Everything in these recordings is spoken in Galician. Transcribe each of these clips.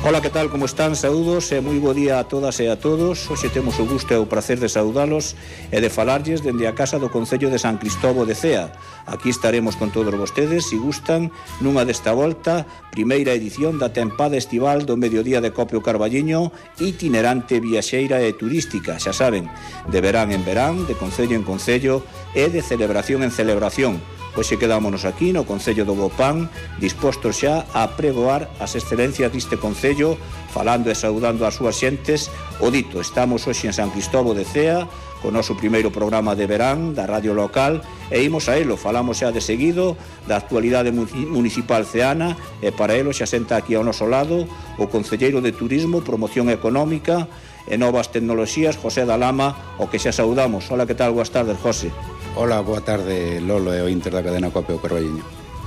Ola, que tal, como están? Saúdos e moi bo día a todas e a todos. Hoxe temos o gusto e o prazer de saudalos e de falarlles dende a casa do Concello de San Cristovo de Cea. Aquí estaremos con todos vostedes, se gustan, nunha desta volta, primeira edición da tempada estival do Mediodía de Copio Carballiño, itinerante, viaxeira e turística, xa saben, de verán en verán, de concello en concello e de celebración en celebración. Hoxe quedámonos aquí no Concello do Bopán, dispostos xa a pregoar as excelencias deste Concello, falando e saudando as súas xentes. O dito, estamos hoxe en San Cristovo de Cea, con o noso primeiro programa de verán da radio local, e imos a elo, falamos xa de seguido da actualidade municipal ceana, e para elo xa senta aquí ao noso lado o concelleiro de Turismo, Promoción Económica e Novas Tecnoloxías, José da Lama, o que xa saudamos. Hola, que tal? Boas tardes, José. Hola, boa tarde, Lolo e o Inter da cadena Copio Carballiño.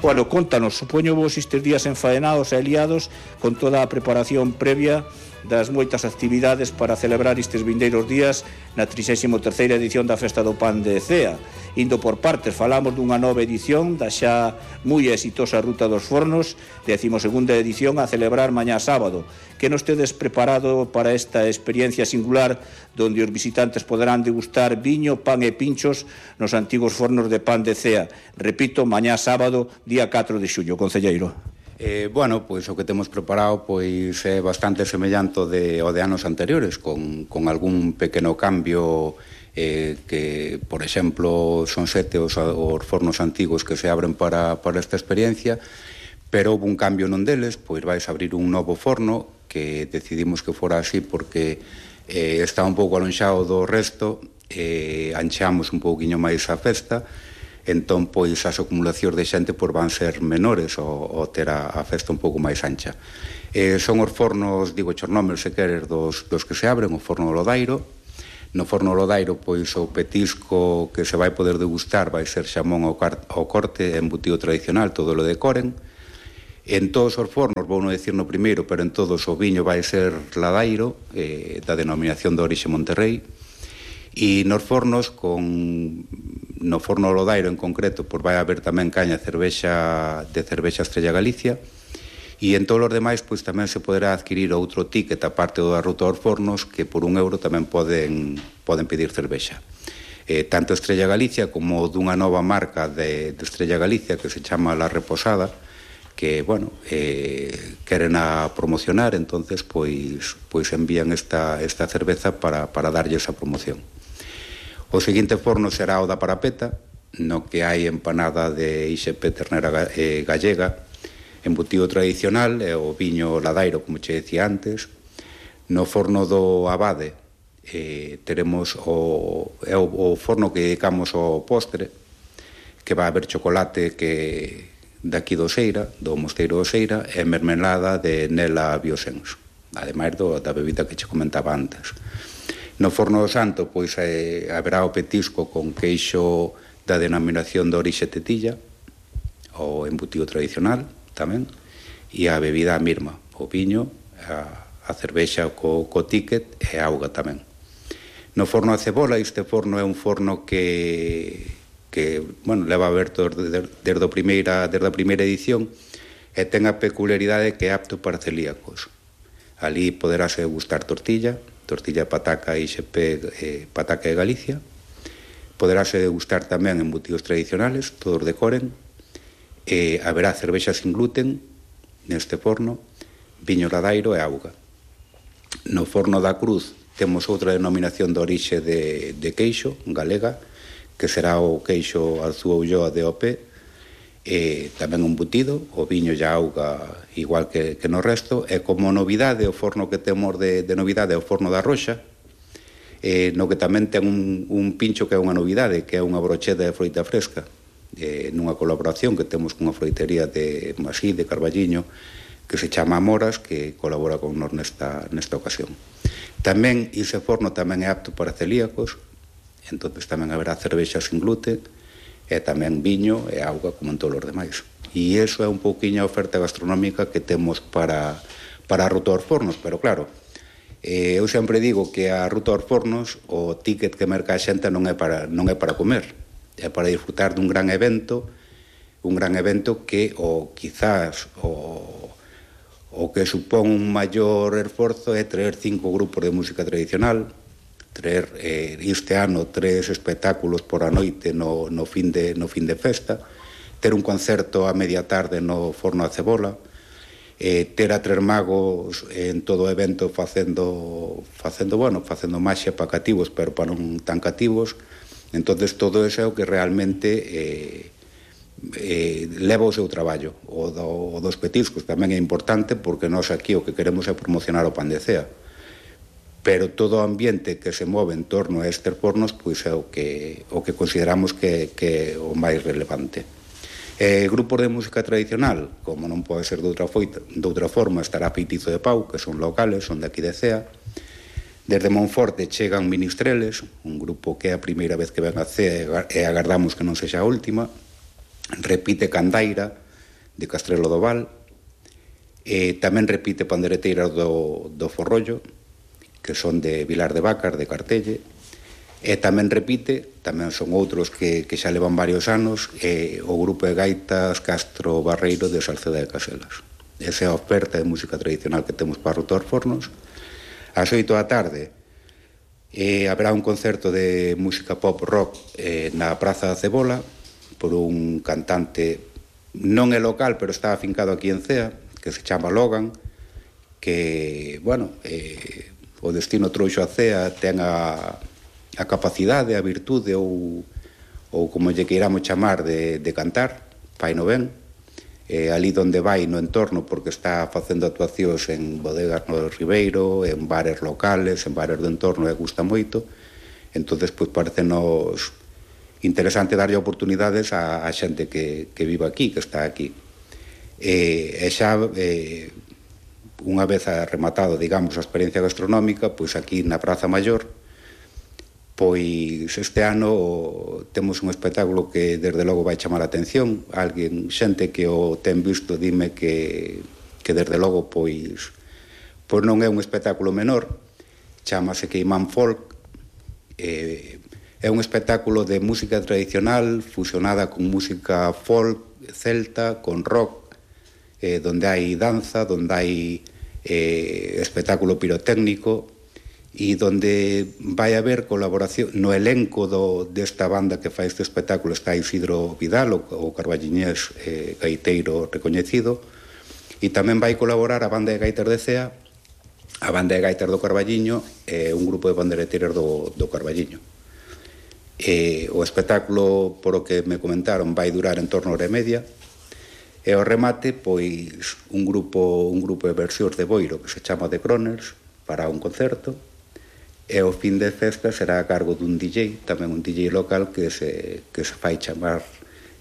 Bueno, contanos, supoño vos estes días enfaenados e liados con toda a preparación previa das moitas actividades para celebrar estes vindeiros días na 33ª edición da Festa do Pan de Cea. Indo por partes, falamos dunha nova edición da xa moi exitosa Ruta dos Fornos, 12ª edición a celebrar mañá sábado. Que nos tedes preparado para esta experiencia singular donde os visitantes poderán degustar viño, pan e pinchos nos antigos fornos de pan de Cea? Repito, mañá sábado, día 4 de xullo, concelleiro. Bueno, pois o que temos preparado pois é bastante semellante ao de anos anteriores, con algún pequeno cambio, que, por exemplo, son 7 os fornos antigos que se abren para esta experiencia, pero houve un cambio nun deles, pois vais abrir un novo forno que decidimos que fora así porque está un pouco alonxado do resto, ancheamos un pouquiño máis a festa. Entón, pois, as acumulacións de xente van ser menores ao ter a festa un pouco máis ancha. Son os fornos, digo, chornómeros, se queres, dos que se abren, o forno Lodairo. No forno Lodairo, pois, o petisco que se vai poder degustar vai ser xamón ao corte, embutido tradicional, todo lo decoren. En todos os fornos, vou non dicir no primeiro, pero en todos o viño vai ser Ladairo, da denominación de orixe Monterrey. E nos fornos, no forno Lodairo en concreto, pois vai haber tamén caña de cervexa Estrella Galicia, e en todos os demais pois tamén se poderá adquirir outro ticket aparte da Ruta aos Fornos, que por €1 tamén poden pedir cervexa. Tanto Estrella Galicia como dunha nova marca de Estrella Galicia que se chama La Reposada, que, bueno, queren a promocionar, entonces pois envían esta cerveza para darlle esa promoción. O seguinte forno será o da Parapeta, no que hai empanada de IXP ternera gallega, embutido tradicional e o viño Ladairo, como che decía antes. No forno do Abade teremos o forno que dedicamos ao postre, que vai haber chocolate que daqui do Seira, do Mosteiro do Seira, e mermelada de Nela Biosens, ademais da bebida que che comentaba antes. No forno do Santo, pois, haberá o petisco con queixo da denominación de orixe Tetilla, o embutido tradicional tamén, e a bebida a mirma, o viño, a cervexa co ticket e a auga tamén. No forno a Cebola, este forno é un forno que bueno, leva aberto desde a primeira edición e ten a peculiaridade que é apto para celíacos. Ali poderase gustar tortilla pataca IXP, pataca de Galicia. Poderase degustar tamén embutidos tradicionales, todos decoren. Haberá cervexa sin gluten neste forno, viño Ladairo e auga. No forno da Cruz temos outra denominación de orixe de queixo, galega, que será o queixo Alzúa Ulloa de OP, tamén un embutido, o viño e a auga igual que no resto, e como novidade, o forno que temos de novidade é o forno da Roxa, no que tamén ten un pincho que é unha novidade, que é unha brocheta de froita fresca, nunha colaboración que temos cunha froitería de Masí, de Carballiño, que se chama Amoras, que colabora con nos nesta ocasión. Tamén, ese forno tamén é apto para celíacos, entonces tamén haberá cervexa sin gluten, e tamén viño e auga como en todos os demais. E iso é un pouquiño a oferta gastronómica que temos para a Ruta aos Fornos, pero claro, eu sempre digo que a Ruta aos Fornos o ticket que merca a xente non é para comer, é para disfrutar dun gran evento que quizás o O que supón un maior esforzo é traer 5 grupos de música tradicional, traer este ano 3 espectáculos por a noite no fin de festa, ter un concerto a media tarde no Forno a Cebola, ter a 3 magos en todo o evento facendo maxia para cativos, pero para non tan cativos. Entonces todo eso é o que realmente leva o seu traballo. O dos petiscos tamén é importante, porque nós aquí o que queremos é promocionar o pan de cea, pero todo o ambiente que se move en torno a estes fornos pois é o que consideramos que é o máis relevante. Grupos de música tradicional, como non pode ser de outra forma, estará Feitizo de Pau, que son locales, son de aquí de Cea. Desde Monforte chegan Ministreles, un grupo que é a primeira vez que ven a Cea e agardamos que non sexa a última. Repite Candaira, de Castrelo do Val. Tamén repite Pandereteiras do Forrollo, que son de Vilar de Vacas, de Cartelle. E tamén repite, tamén son outros que xa levan varios anos, o grupo de gaitas Castro Barreiro de Salceda de Caselas. Esa é a oferta de música tradicional que temos para Ruta dos Fornos. Ás 8 da tarde haberá un concerto de música pop rock na Praza da Cebola por un cantante, non é local, pero está afincado aquí en Cea, que se chama Logan, que, bueno, o destino trouxo a Cea, ten a capacidade, a virtude ou como lle queiramos chamar de cantar, fai no ben, ali onde vai no entorno, porque está facendo actuacións en bodegas no Ribeiro, en bares locales, en bares do entorno, e gusta moito. Entonces, pois parecenos interesante darlle oportunidades a xente que vive aquí, que está aquí. E xa unha vez rematado, digamos, a experiencia gastronómica, pois aquí na Praza Maior, pois este ano temos un espectáculo que desde logo vai chamar a atención. Xente que o ten visto dime que desde logo pois non é un espectáculo menor, chamase Queimán Folk. É un espectáculo de música tradicional fusionada con música folk celta, con rock, donde hai danza, donde hai espectáculo pirotécnico, e donde vai haber colaboración no elenco desta banda que fai este espectáculo. Está Isidro Vidal, o carballiñés gaiteiro recoñecido, e tamén vai colaborar a banda de gaitas de Cea, a banda de gaitas do Carballiño e un grupo de bandereteiras do Carballiño. O espectáculo, por o que me comentaron, vai durar en torno a hora e media, e ao remate, pois, un grupo de versións de Boiro que se chama The Croners para un concerto. E o fin de festa será a cargo dun DJ, tamén un DJ local que se fai chamar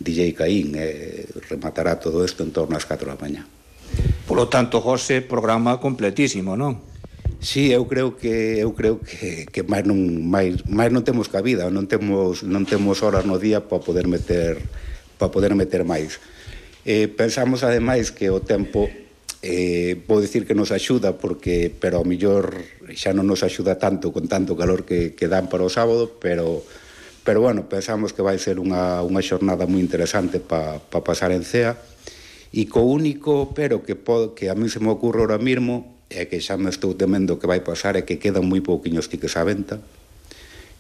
DJ Caín, e rematará todo isto en torno ás 4 da mañá. Polo tanto, José, programa completísimo, non? Sí, eu creo que máis non temos cabida, non temos horas no día para poder meter máis. Pensamos ademais que o tempo vou dicir que nos axuda, pero ao mellor xa non nos axuda tanto con tanto calor que dan para o sábado, pero bueno, pensamos que vai ser unha xornada moi interesante para pasar en Cea, e co único pero que a mí se me ocurre ahora mesmo é que xa me estou temendo que vai pasar é que quedan moi pouquiños tickets á venta.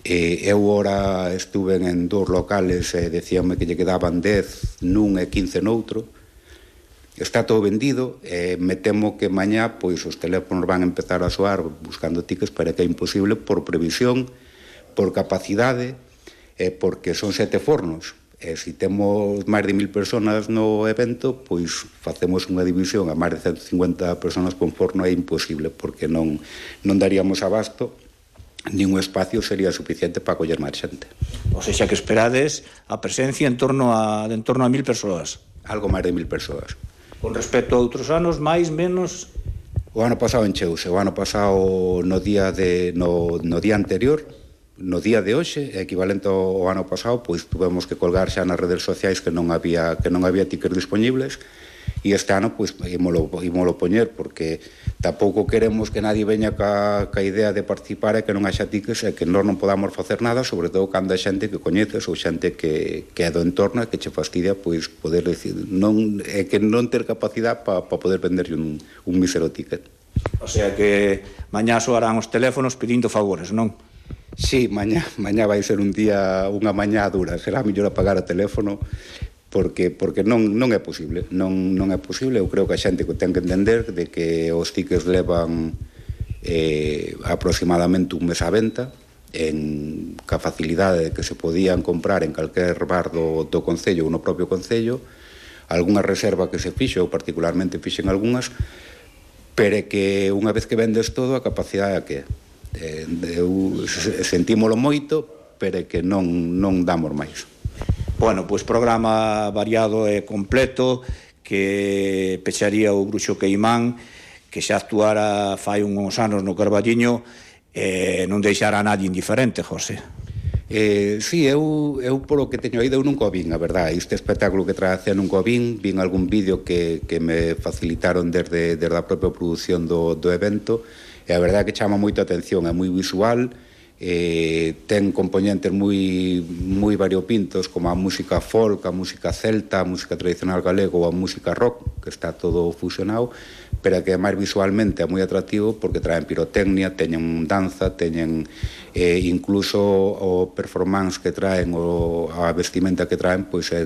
Eu ora estuve en 2 locales e decíame que lle quedaban 10 nun e 15 noutro. Está todo vendido, me temo que mañá pois os teléfonos van a empezar a soar buscando tickets, pero que é imposible por previsión, por capacidade, porque son 7 fornos. Se temos máis de 1000 personas no evento, pois facemos unha división a máis de 150 personas con forno, é imposible, porque non daríamos abasto, nin un espacio sería suficiente para coller máis xente. O sea que esperades a presencia en torno a 1000 persoas. Algo máis de 1000 persoas. Con respecto a outros anos, máis, menos? O ano pasado encheuse, o ano pasado no día anterior, no día de hoxe, equivalente ao ano pasado, pois tuvemos que colgar xa nas redes sociais que non había tickets disponibles, e este ano pois ímolo poñer, porque tampouco queremos que nadie veña ca idea de participar e que non haxa tiques e que nós non podamos facer nada, sobre todo cando hai xente que coñeces ou xente que é do entorno e que che fastidia pois poder decir, non, é que non ter capacidade para poder venderlle un mísero ticket. O sea que mañá soarán os teléfonos pedindo favores, non? Sí, mañá vai ser unha mañá dura, será mellor apagar o teléfono porque non é posible, non é posible. Eu creo que a xente ten que entender de que os tickets levan aproximadamente un mes á venta, ca facilidade de que se podían comprar en calquer bar do Concello ou no propio Concello, algunha reserva que se fixo, ou particularmente fixen algunhas, pero que unha vez que vendes todo, a capacidade é que sentímolo moito, pero que non damos máis. Bueno, pois programa variado e completo que pecharía o Bruxo Queimán, que xa actuara fai uns anos no Carballiño e non deixara a nadie indiferente, José. Sí, eu polo que teño ido eu nunca o vin, a verdade. Este espectáculo que trae a cea nunca o vin algún vídeo que me facilitaron desde a propia produción do evento, e a verdade é que chama moita atención, é moi visual, ten componentes moi variopintos, como a música folk, a música celta, a música tradicional galego ou a música rock, que está todo fusionado, pero que máis visualmente é moi atractivo porque traen pirotecnia, teñen danza, teñen incluso o performance que traen, a vestimenta que traen, pois é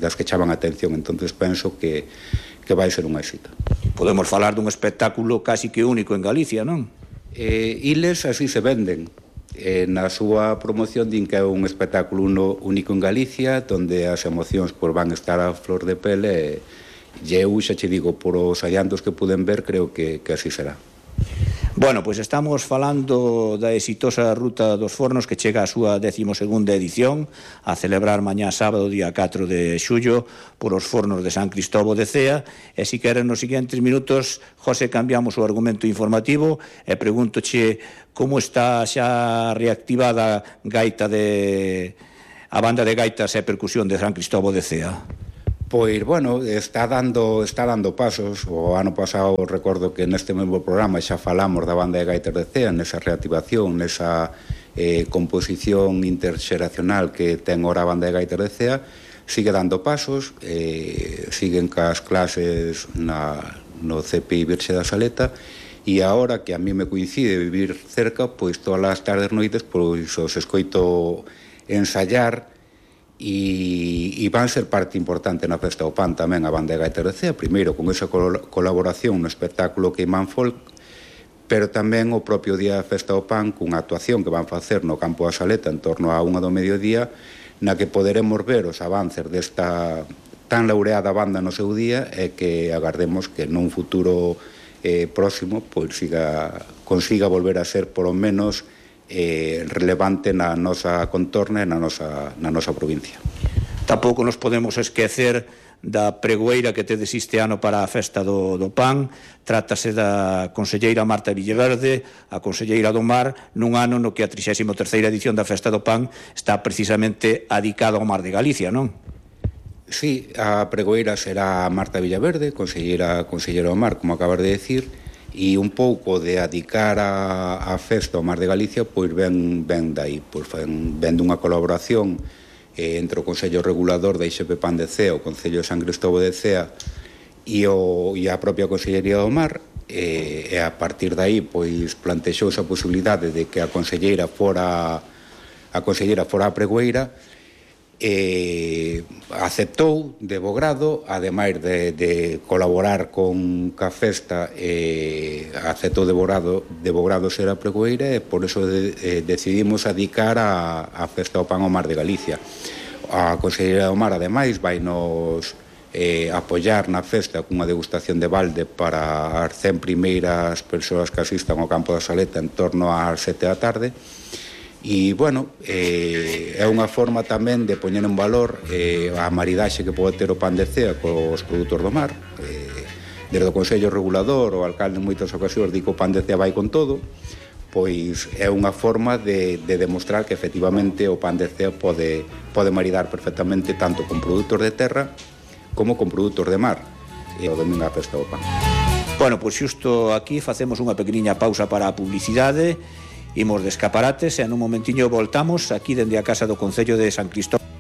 das que chaman a atención. Entonces penso que vai ser un éxito. Podemos falar dun espectáculo casi que único en Galicia, non? Iles así se venden. Na súa promoción din que é un espectáculo único en Galicia, donde as emocións van estar a flor de pele, e eu xa che digo, por os adiantos que puden ver, creo que así será. Bueno, pois estamos falando da exitosa Ruta dos Fornos que chega a súa 12ª edición a celebrar mañá sábado, día 4 de xullo, por os Fornos de San Cristóbo de Cea. E se queren nos seguintes minutos, José, cambiamos o argumento informativo e pregúntoche como está xa reactivada a banda de gaitas e percusión de San Cristóbo de Cea. Pois, bueno, está dando pasos. O ano pasado recordo que neste mesmo programa xa falamos da banda de gaitas de Cea, nesa reactivación, nesa composición interxeracional que ten ora a banda de gaitas de Cea. Sigue dando pasos, siguen cas clases no CPI Virxe da Saleta, e agora que a mí me coincide vivir cerca, pois todas as tardes noites pois os escoito ensayar. E van ser parte importante na Festa do Pan tamén a banda de gaitas de Cea, primeiro con esa colaboración no espectáculo Queimán Folk, pero tamén o propio día da Festa do Pan cunha actuación que van facer no Campo da Saleta en torno a 1 do mediodía, na que poderemos ver os avances desta tan laureada banda no seu día, e que agardemos que nun futuro próximo pois consiga volver a ser polo menos relevante na nosa contorna e na nosa provincia. Tampouco nos podemos esquecer da pregoeira que tedes este ano para a Festa do Pan. Trátase da conselleira Marta Villaverde, a conselleira do Mar, nun ano no que a 33ª edición da Festa do Pan está precisamente adicada ao Mar de Galicia, non? Sí, a pregoeira será Marta Villaverde, conselleira do Mar, como acabas de decir, e un pouco de adicar a festa ao Mar de Galicia, pois ven dai, pois ven dunha colaboración entre o Consello Regulador da IXP Pan de Cea, o Concello de San Cristóbo de Cea e a propia Consellería do Mar, e a partir dai pois plantexou esa posibilidade de que a conselleira fora a pregoeira. Aceptou de bo grado, ademais de colaborar con ca festa, aceptou de bo grado ser a pregoeira, e por eso decidimos adicar a Festa do Pan ao Mar de Galicia. A Conselleira do Mar, ademais, vai nos apoiar na festa cunha degustación de balde para as 100 primeiras persoas que asistan ao Campo da Saleta en torno ás 7 da tarde. E, bueno, é unha forma tamén de poñer en valor a maridaxe que pode ter o Pan de Cea cos produtos do mar. Desde o Consello Regulador, o alcalde en moitas ocasións di que o Pan de Cea vai con todo, pois é unha forma de demostrar que efectivamente o Pan de Cea pode maridar perfectamente tanto con produtos de terra como con produtos de mar. e o domingo a festa do pan. Bueno, pois xusto aquí facemos unha pequeniña pausa para a publicidade, imos de escaparates e nun momentiño voltamos aquí dende a Casa do Concello de San Cristóbal.